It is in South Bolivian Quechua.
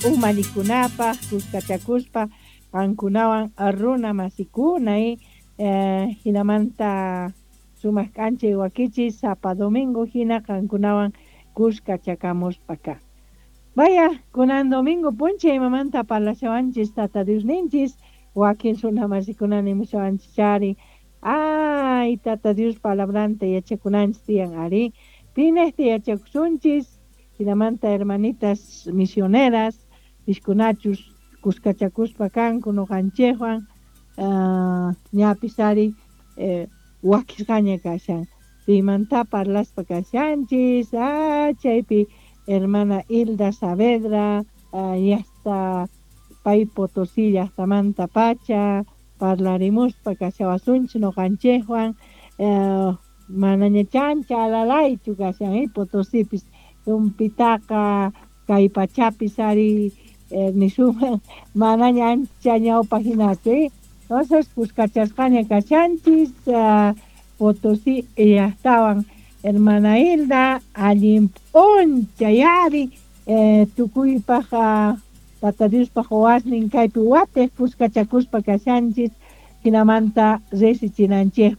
Umallikunapaj kuskachakuspa qankunawan runa masikuna jinamanta sumaq k'anchay wakichis sapa domingo hina qankunawan kuskachakamuspa ka. Vaya, kunan domingo p'unchay imamanta parlashawanchis Tata Diosninchis, wakin runa masikuna nimushawanchis chari, ay Tata Dios palabranta yachakunanchis tiyan ari, pinejta yachakusunchis, jinamanta hermanitas misioneras, piskunachus kuskachakuspa kanku noqanchejwan, ñapis ari wakisqaña kashan, pimanta parlaspa kashanchis, chaypi hermana Hilda Saavedra, llajta pay Potosí llajtamanta pacha, parlarimuspa kashawasunchis noqanchejwan, manaña chancha alalaychu kashan Potosipis, tumpitaqa kay pachapis ari nisunman manaña ancha ñawpa hinachu, entonces kuskachasqaña kashanchis Potosí llajtawan hermana Hilda, allin p'unchay ari tukuypaj Tata Diospaj wawasnin kaypi watej kuskachakuspa kashanchis, jinamanta risichinanchejpaj.